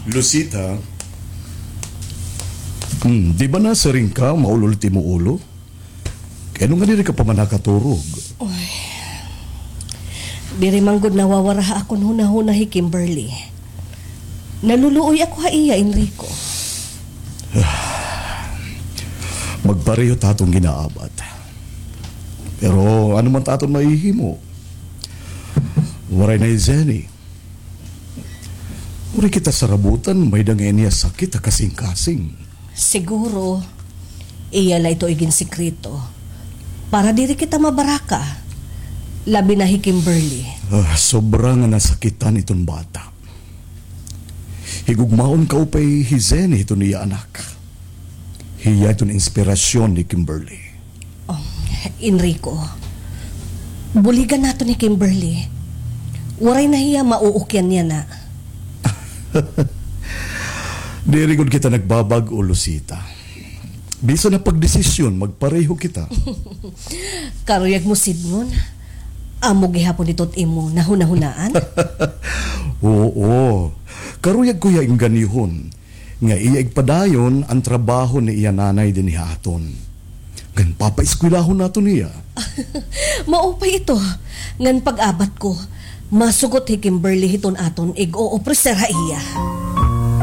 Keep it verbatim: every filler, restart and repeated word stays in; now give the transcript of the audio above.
Lucita, hmm, di ba nasiring ka maul-ol it imo ulo? Kay ano nga diri ka pa man nakaturog? Uy. Diri man gud nawawara ha akon hunahuna hi Kimberly. Naluluoy ako ha iya, Enrico. Magpareho ta aton ginaabat. Pero ano man ta aton mahihimo? Waray na hi Zenny. Waray kita sarabutan, may-ada nga ini nga sakit ha kasingkasing. Siguro, iya la ito iginsikreto. Para diri kita mabaraka. Labi na hi Kimberly. Ah, sobra nga nasakitan iton bata. Higugmaon kaupay hi Zenny hiton iya anak. Hiya iton inspirasyon ni Kimberly. Oh, Enrico, buligan naton hi Kimberly. Waray na hiya mauukyan niya na. Diri gud kita nagbabag-o, Lucita. Bisan ha pagdesisyon, magpareho kita. Karuyag mo sidngon? Amo gihapon ito it imo nahunahunaan? Oo. Karuyag ko hiya engganyohon nga iya igpadayon an trabaho ni iya nanay dinhi ha aton. Ngan papaeskwelahon naton hiya. Maupay ito. Ngan pag-abat ko, masugot hi Kimberly hiton aton ig-oofrecer ha iya.